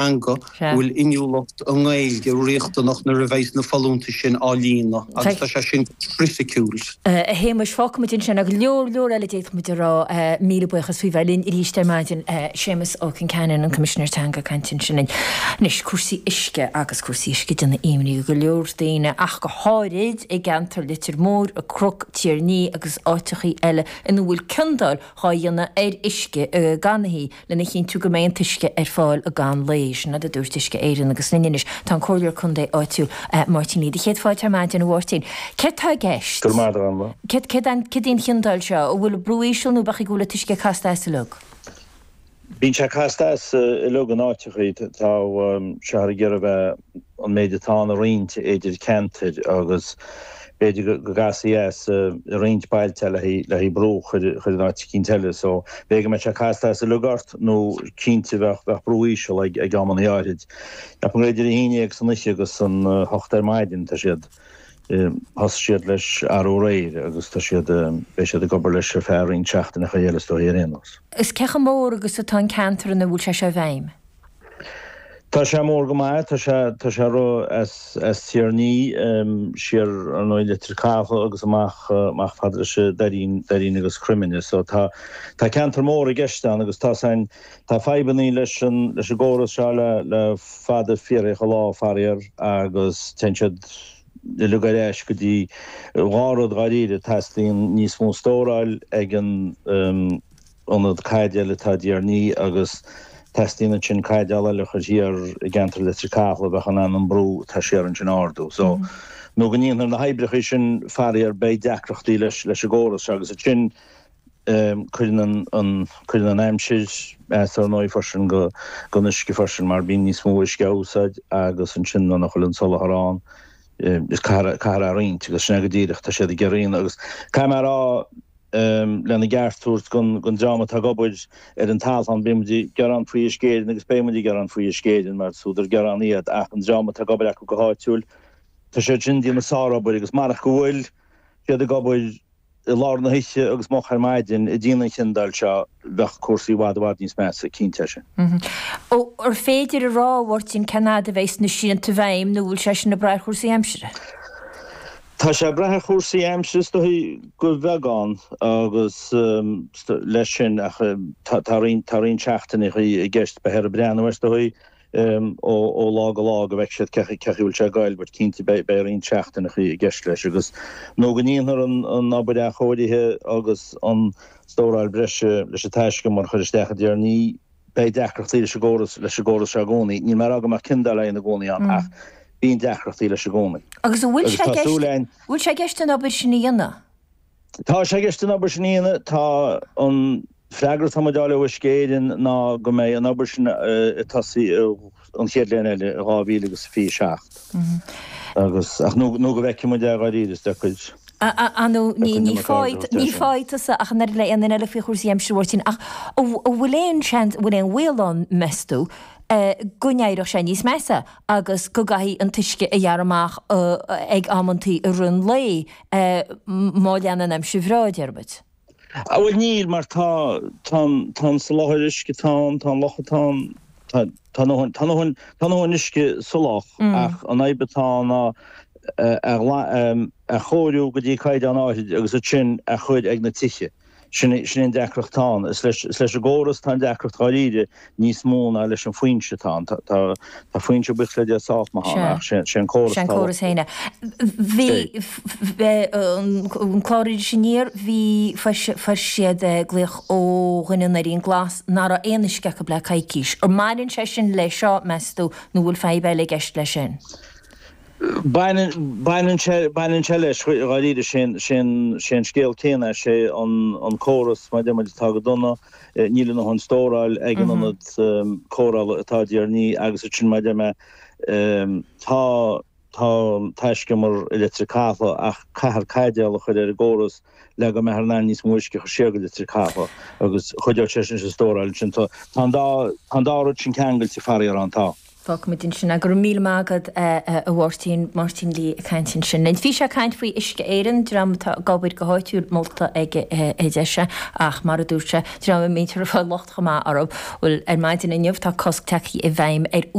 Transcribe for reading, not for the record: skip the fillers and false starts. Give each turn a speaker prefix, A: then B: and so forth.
A: Teanga, go bhfuil inniúlacht i nGaeilge riachtanach nuair a bheidhs na folúntais sin á líonadh agus tá sé sin criticiúil.
B: A Shéamais, fágfaimid ansin ach leor leor eile d'fhéadfadh muid a rá. Míle buíochas faoi bheith linn arís ar maidin. Séamus Ó Concheanainn, an Coimisinéir Teanga ag caint ansin linn. Anois, cúrsaí uisce agus cúrsaí uisce ag déanamh imní do go leor daoine ach go háirid i gceantar Leitir Móir, An Cnoc, Tír an Fhia agus áiteachaí eile ina bhfuil ciondáil dhá dhéanamh ar uisce ganaithe. lena chinntiú go mbeidh an t-uisce ar fáil i gcaitheamh an lae. Sin rud a dúirt Uisce Éireann agus linn anois tá an Comhairleoir Contae áitiúil, Máirtín Lee. Do chéad fáilte ar maidin, a Mháirtín. Céard tá i gceist?
C: Go raibh maith agat.
B: Céard, céard í an chiondáil seo? An bhfuil brú íseal nó b'fhéidir go bhfuil an t-uisce casta as uilig?
C: Bíonn sé casta as uilig in áiteachaí. Tá sé ag iarraidh bheith an méid atá ann a roinnt idir ceantair agus b'fhéidir go gcasfaí as i roinnt bailte le haghaidh brú a chur in áit eicínt eile. So, b'fhéidir go mbeadh sé casta as uilig ort nó cinnte bheadh bheadh brú íseal ag ag amannaí áirid. Ceapaim gur idir a haon dhéag san oíche agus an hocht ar maidin tá siad thosaigh siad leis arú aréir agus tá siad beidh siad ag obair leis ar feadh roinnt seachtaineacha eile is dóigh ar aon nós.
B: Is cé chomh mór agus atá an ceantar ina bhfuil sé seo i bhfeidhm?
C: Tá sé mór go maith, tá sé, tá sé ro as, as Tír an Fhia, siar ar ndóigh Leitir Cathail agus amach, amach fad leis an Doirín, Doirín agus Croimine. So tá, tá ceantar mór i gceist ann agus tá sain, tá fadhbannaí leis an, leis an gcóras seo le, le fada fíorthacha lá faraor agus téann siad uilig ar ais go dtí dhá rud dháiríre, teastaíonn níos mó stóráil ag an, ionad caidéil atá i dTír an Fhia agus teastaíonn ansin caidéal eile a chur thiar i gceantar Leitir Cathail a bheadh in ann an brú atá siar ansin a ardú. So, nó go ndéanfar na hoibreacha sin faraor beidh deacrachtaí leis leis an gcóras seo agus ansin cuireann an an cuireann an aimsir as ar ndóigh freisin go don uisce freisin mar bíonn níos mó uisce á úsáid agus ansin nuair nach bhfuil an soláthar ann is caithfear caithfear é a roinnt agus sin é go díreach tá siad ag iarraidh agus caithfidh mé a rá lena gceart a thabhairt don dream atá ag obair ar an talamh. Bíonn muid ag gearán faoi Uisce Éireann agus beidh muid ag gearán faoi Uisce Éireann mar is údar gearán iad ach an dream atá ag obair acu go háitiúil, tá siad sin ag déanamh sárobair agus marach go bhfuil siad ag obair i lár na hoíche agus moch ar maidin ag déanamh an chiondáil seo, bheadh cúrsaí i bhfad i bhfad níos measa, cinnte é sin.
B: Ar féidir a rá, a Mháirtín, cén fhad a bheidh na srianta i bhfeidhm nó bhfuil sé sin ag brath ar chúrsaí aimsire?
C: Tá sé ag brath ar chúrsaí aimsire is dóigh go bheagán agus leis sin ach tá roinnt tá roinnt seachtaineachaí i gceist beifear ag breathnú air is dóigh ó lá go lá go bhfeicfidh siad cé chaoi a bhfuil sé ag goil but cinnte beidh beidh roinnt seachtaineachaí i gceist leis agus nó go ndéanfar an an obair athchóirithe agus an stóráil breise leis an taiscumar a chur isteach i dTír an Fhia. Beidh deacrachtaí leis an gcóras, leis an gcóras seo i gcónaí. Níl mé ag rá go mbeadh ciondáil á dhéanamh i gcónaí ann ach bíonn deacrachtaí leis i gcónaí.
B: Agus an bhfuil sé i gceist, bhfuil sé i gceist an obair sin a dhéanamh?
C: Tá sé i gceist an obair sin a dhéanamh. Tá an freagra atá muid a fháil ó Uisce Éireann ná go mbeidh an obair sin ag tosaí an chéad bhliain eile, i 2027. Agus, ach nó, nó go bhfeicfidh muid é dháiríre, is deacair.
B: Ar ndóigh, ní ní fáidh tusa ach an oiread le aon duine eile faoi chúrsaí aimsire, a Mháirtín, ach an bhfuil aon seans, an bhfuil aon bhaol ann, meas tú, go n-éireodh sé níos measa agus go gcaithfí an t-uisce a ghearradh amach ag amantaí i rith an lae má leanann an aimsir bhreá, deir muid?
C: A bhuel níl mar tá tá an tá an soláthar uisce atá ann, tá an loch atá ann, tá tá ndóthain tá ndóthain tá ndóthain uisce sa loch ach an fhadhb atá ann ná a a chóiriú go dtí caighdeán áirid agus ansin a chur ag na tithe. Sin sin an deacracht atá ann. Is leis is leis an gcóras atá an deacracht dháiríre níos mó ná leis an foinse atá ann. Tá tá tá foinse buíochas le Dia sách maith ann ach sé sé an córas
B: Sé an atá córas féin é. Bhí an clár Iris Aniar, bhí, fuair siad glaoch ó dhuine i nDoirín Glas nach raibh aon uisce acu le coicís. An mbaineann sé sin leis seo, meas tú, nó bhfuil fadhb eile i gceist leis sin?
C: Baineann, baineann sé, baineann sé leis, dháiríre, sé an, sé an, sé an scéal céanna é, sé an, an córas, mar a deir muid, atá go dona, níl a ndóthain stóráil ag an ionad cóireála atá i dTír an Fhia agus ansin, mar a deir mé, tá, Tá taiscumar i Leitir Cathail ach caithfear caidéal a chur ar an gcóras le go mbeifear in ann níos mó uisce a chur siar go Leitir Cathail agus chuideodh sé sin leis an stóráil ansin. Tá an dá rud sin ceangailte faraor ann, tá.
B: Fágfaimid ansin é. Go raibh míle maith agat a Mháirtín, Máirtín Lee ag caint ansin. Bhí sé ag caint faoi Uisce Éireann, dream atá ag obair go háitiúil molta ag Deise ach mar a dúirt sé, dream a mbítear ag fáil locht chomh maith orthu. Bhuel, ar maidin inniu tá cosc tagtha i bhfeidhm ar.